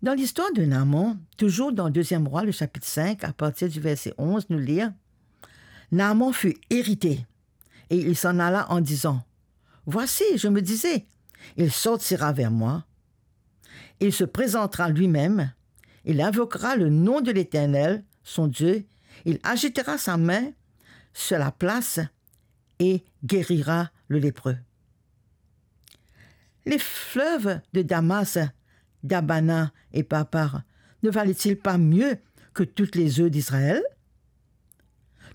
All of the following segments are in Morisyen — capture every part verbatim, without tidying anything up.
Dans l'histoire de Naaman, toujours dans deuxième Roi, le chapitre cinq, à partir du verset onze, nous lire, Naaman fut irrité et il s'en alla en disant, Voici, je me disais, il sortira vers moi, il se présentera lui-même, il invoquera le nom de l'Éternel, son Dieu, il agitera sa main sur la place et guérira le lépreux. Les fleuves de Damas, d'Abana et Papar ne valaient-ils pas mieux que toutes les eaux d'Israël ?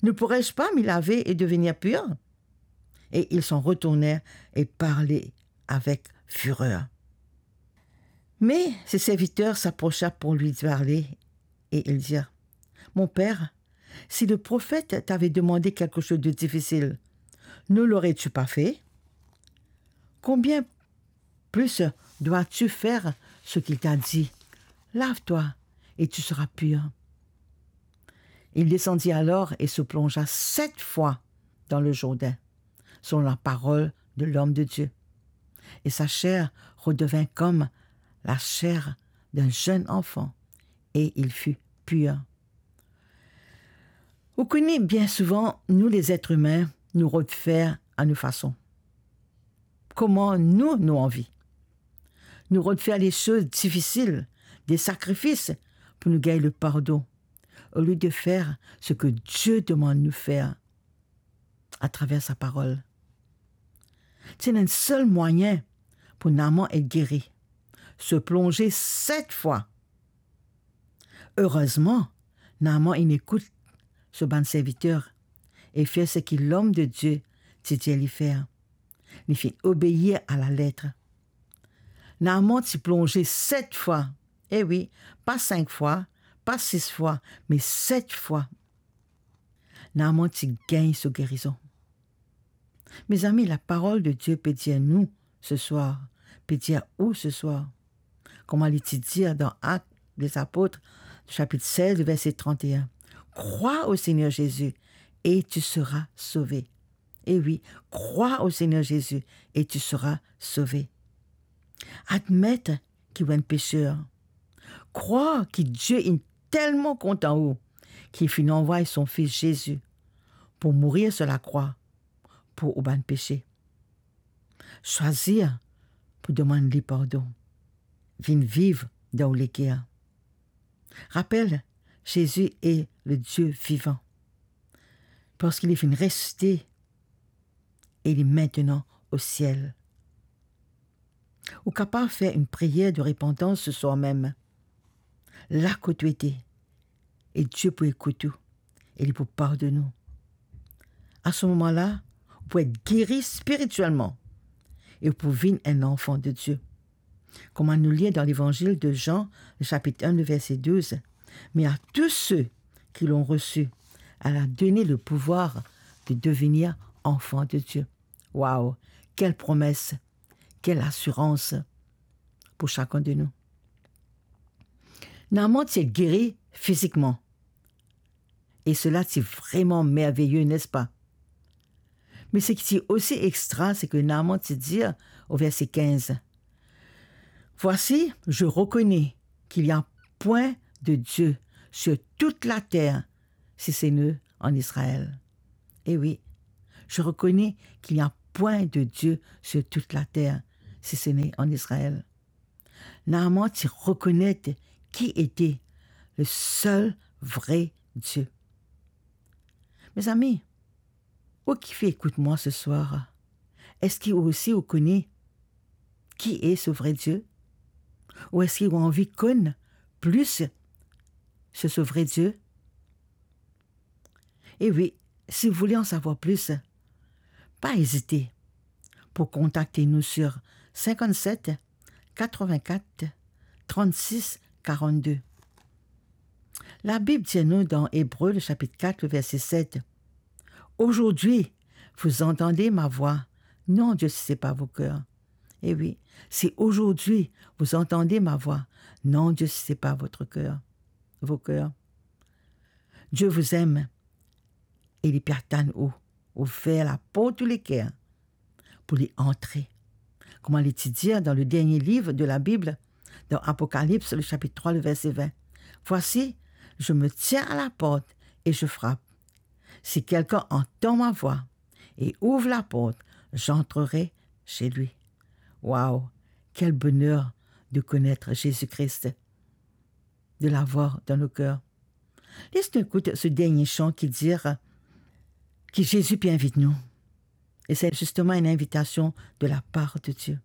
Ne pourrais-je pas m'y laver et devenir pur ? Et ils s'en retournèrent et parlaient avec fureur. Mais ses serviteurs s'approcha pour lui parler, et ils dirent, Mon père, si le prophète t'avait demandé quelque chose de difficile, ne l'aurais-tu pas fait ? Combien plus dois-tu faire ce qu'il t'a dit, Lave-toi et tu seras pur. Il descendit alors et se plongea sept fois dans le Jourdain, selon la parole de l'homme de Dieu. Et sa chair redevint comme la chair d'un jeune enfant, et il fut pur. Ou kone, bien souvan, nou, les êtres humains, nou rod fer a nou fason. Kouma nou, nou anvi. Nou rod fer les choses difficiles, des sacrifices pou nou gagn le pardon, au lieu de faire ce que Dieu demande nous faire à travers sa parole. Ti ena enn sel mwayin pou Naaman et geri, se plonze set fwa. Erezman, Naaman inn ekout so bann serviter e fer seki lom de Die ti dir li fer. Li finn obeir a la let. Naaman ti plonze set fwa. E wi, pa sink fwa, pa sis fwa, me set fwa. Naaman ti gagn so gerizon. Mezami, la parole de Dieu pe dir nou se swar, pe dir ou se swar, kouma li ti dir dan Actes des Apôtres, chapitre seize, verset trente et un, Crois au Seigneur Jésus et tu seras sauvé. E wi, crois au Seigneur Jésus et tu seras sauvé. Admet ki ou enn peser. Krwar ki Die inn telman kontan ou ki li finn anvway so Fis Zezi pou mourir so lakrwa pou ou bann pese. Swazir pou demann li pardon. Vinn viv dan ou leker. Rapel, Zezi est le Dieu vivant, parski li finn resisite e li mintnan o siel. Ou kapav fer enn priyer de repantans se swar mem, la kot ou ete, e Die pou ekout ou e li pou pardonn ou. A se moman la, ou pou et geri spiritielman e ou pou vinn enn anfan de Die. Kouma nou lir dan Levanzil de Zan, le chapitre un, le verset douze, Mais à tous ceux qui l'ont reçu, elle a donné le pouvoir de devenir enfants de Dieu. Waw, kel promes, kel asirans pou sakenn de nou. Naaman ti geri fizikman. E sela ti vreman merveye, nespa? Me seki ti osi extra, seki Naaman ti dir o verse quinze, Voici, je reconnais qu'il n'y a point de Dieu sur toute la terre, si ce n'est en Israël. E wi, je reconnais qu'il n'y a point de Dieu sur toute la terre, si ce n'est en Israël. Naaman ti rekonet ki ete le sel vre Die. Mezami, ou ki finn ekout mwa se swar, eski ou osi ou kone ki e so vre Die? Ou eski ou anvi konn plis sur so vre Die? E wi, si ou voule an savwar plis, pa ezite pou kontakte nou sur cinquante-sept quatre-vingt-quatre trente-six quarante-deux. Labib dir nou dan Ebre, le chapitre quatre, le verset sept, Aujourd'hui, vous entendez ma voix, n'endurcissez pas vos cœurs. E wi, si aujourd'hui vous entendez ma voix, n'endurcissez pas votre cœur, vos cœurs. Dieu vous aime e li pe atann ou, ouver laport ou leker pou li antre. Kouma li ti dir dan le dernie liv de Labib, dans Apocalypse, le chapitre trois, le verset vingt. Voici, je me tiens à la porte et je frappe. Si quelqu'un entend ma voix et ouvre la porte, j'entrerai chez lui. Waouh, quel bonheur de connaître Jésus-Christ, de l'avoir dans nos cœurs. Les nou ekout se dernie chan ki dir ki Zezi pe invit nou. E se zisteman enn invitasion de la par de Dieu.